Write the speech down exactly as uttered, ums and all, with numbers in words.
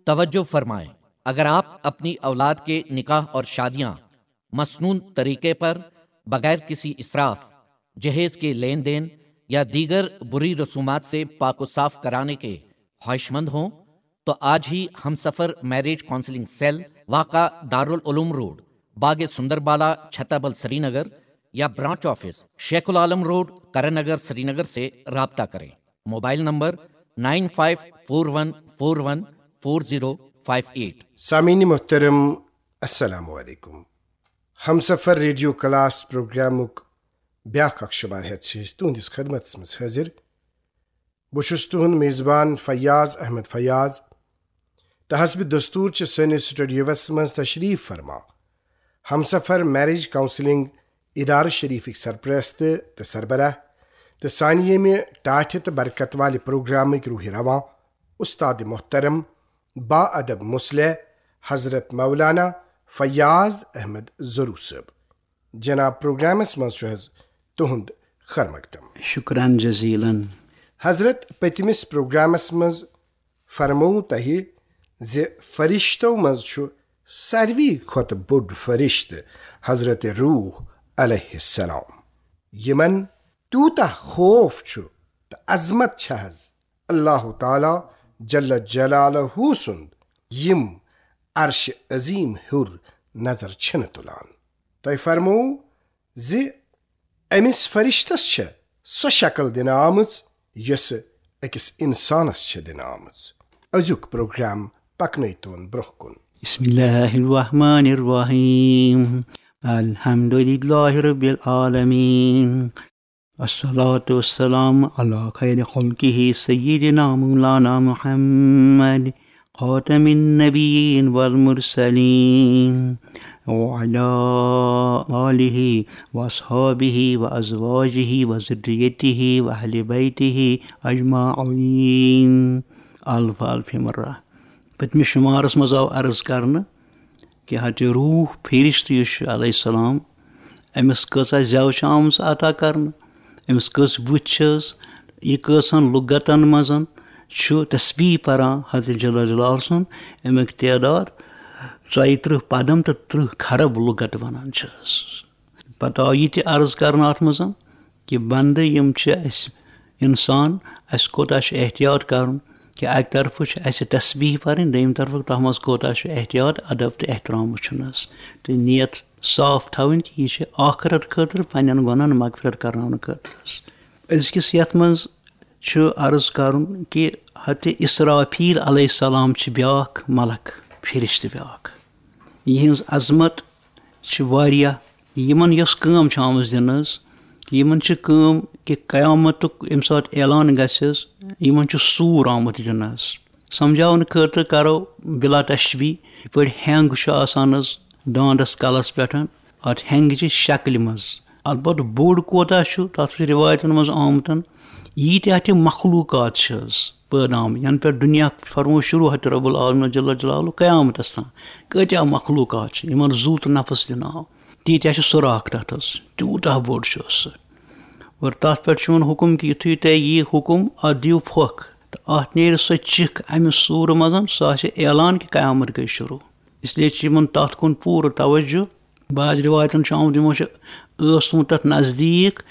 توجہ فرمائیں، اگر آپ اپنی اولاد کے نکاح اور شادیاں مسنون طریقے پر، بغیر کسی اسراف، جہیز کے لین دین یا دیگر بری رسومات سے پاک و صاف کرانے کے خواہش مند ہوں تو آج ہی ہم سفر میرج کاؤنسلنگ سیل، واقع دارالعلوم روڈ، باغ سندر بالا، چھتابل، سری نگر یا branch office, Sheikh ul-Alam road, Karan Nagar, Srinagar سے رابطہ کریں۔ Mobile number nine five four one four one four zero five eight. سامعین محترم، السلام علیکم۔ ہمسفر ریڈیو کلاس پروگرامُک بیٛاکھ اکھ شمارٕ ہٮ۪تھ چھِ أسۍ تُہنٛدِس خدمتس منٛز حٲضِر۔ بہٕ چھُس تُہنٛد میزبان فیاض احمد فیاض، تہٕ حسب دستور چھِ سٲنِس سٹوڈیوس منٛز تشریف فرما ہمسفر میرج کاؤنسلنگ ادارٕ شریفٕکۍ سرپرست تہٕ سربراہ، تہٕ سانہِ ییٚمہِ ٹاٹھہِ تہٕ برکت والہِ پروگرامٕکۍ روحِ رواں، استاد محترم، با ادب مصلح، حضرت مولانا فیاض احمد ضرو صٲب۔ جناب، پروگرامس منٛز چھُ حظ تُہنٛد خیر مقدم۔ شکران جزیلن۔ حضرت، پٔتمِس پروگرامس منٛز فرموو تۄہہِ زِ فرشتو منٛز چھُ ساروی کھۄتہٕ بوٚڑ فرشتہٕ حضرت روح علیہ السلام، یِمن تیوٗتاہ خوف چھُ تہٕ عظمت چھِ حظ اللہ تعالیٰ جل جلالہ سُنٛد، یِم عرش عظیم ہیوٚر نظر چھِنہٕ تُلان۔ تۄہہِ فرموو زِ أمِس فرشتس چھےٚ سۄ شکل دِنہٕ آمٕژ، یۄسہٕ أکِس انسانس چھےٚ دِنہٕ آمٕژ۔ أزیُک پروگرام پکنٲوتون برٛونٛہہ کُن۔ بسم اللہ الرحمن الرحیم۔ الحمد للہ رب العالمین۔ الصلاة والسلام على خير خلقه سيدنا مولانا محمد خاتم النبيين والمرسلين وعلى آله وأصحابه وأزواجه وذريته وأهل بيته أجمعين۔ الف الف مرة۔ پٔتمِس شمارس منٛز آو عرض کرنہٕ کہِ حضرت روح فرشتہٕ یُس چھُ علیہ السلام، أمِس کۭژاہ زٮ۪و چھِ آمٕژ عطا کرنہٕ، أمِس کٔژ بُتھۍ چھِس، یہِ کٔژن لُغتن منٛز چھُ تسبیح پران حضرت جل جلالہ سُنٛد، اَمیُک تعداد ژۄیہِ ترٕٛہ پدم تہٕ ترٕٛہ خرب لُغت ونان چھِس۔ پتہٕ آو یہِ تہِ عرض کرنہٕ اَتھ منٛز کہِ بندٕ یِم چھِ اَسہِ انسان، اَسہِ کوٗتاہ چھُ احتیاط کرُن کہِ اَکہِ طرفہٕ چھِ اَسہِ تسبیح پرٕنۍ، دوٚیِمہِ طرفہٕ تَتھ منٛز کوٗتاہ چھُ احتیاط، ادب تہٕ احترام وٕچھُن حظ، تہٕ نیت صاف تھاوٕنۍ کہِ یہِ چھِ آخرت خٲطرٕ، پننٮ۪ن گۄناہن مغفرت کرناونہٕ خٲطرٕ حظ۔ أزکِس یَتھ منٛز چھُ عرض کرُن کہِ حضرت اسرافیل علیہ السلام چھِ بیٛاکھ ملک، فرشتہٕ بیٛاکھ، یِہٕنٛز عظمت چھِ واریاہ۔ یِمن یۄس کٲم چھِ آمٕژ دِنہٕ حظ، یِمن چھِ کٲم کہِ قیامتُک ییٚمہِ ساتہٕ اعلان گژھِ حظ، یِمن چھُ سوٗر آمُت دِنہٕ حظ۔ سمجھاونہٕ خٲطرٕ کرو بلا تشبیہ، یِتھ پٲٹھۍ ہینگ چھُ آسان حظ دانٛدس کلس پٮ۪ٹھ، اتھ ہینگہِ چہِ شکلہِ منٛز۔ البتہٕ بوٚڑ کوتاہ چھُ، تتھ چھُ رِوایتن منٛز آمُت، ییٖتیٛاہ تہِ مخلوقات چھِ حظ پٲدٕ آمٕتۍ، ینہٕ پٮ۪ٹھ دُنیا فرموو شروع حضرت رب العالمین جل جلالہ قیامتس تام، کۭتیٛاہ مخلوقات چھِ، یِمن زُو تہٕ نفس دِنہٕ آو، تیٖتیٛاہ چھِ سوراخ تتھ حظ، تیوٗتاہ بوٚڑ چھُ سُہ۔ اور تتھ پٮ۪ٹھ چھُ یِوان حُکم کہِ یُتھُے تۄہہِ یی حُکم، اتھ دِیِو پھۄکھ تہٕ اتھ نیرِ سۄ چِکھ امہِ سوٗرٕ منٛز، سۄ آسہِ اعلان کہِ قیامت گٔے شروع۔ اس لیے چھُ یِمن تتھ کُن پوٗرٕ توجہ۔ بعض رِوایتن چھُ آمُت، یِمو چھُ ٲس تھوٚمُت تتھ نزدیٖک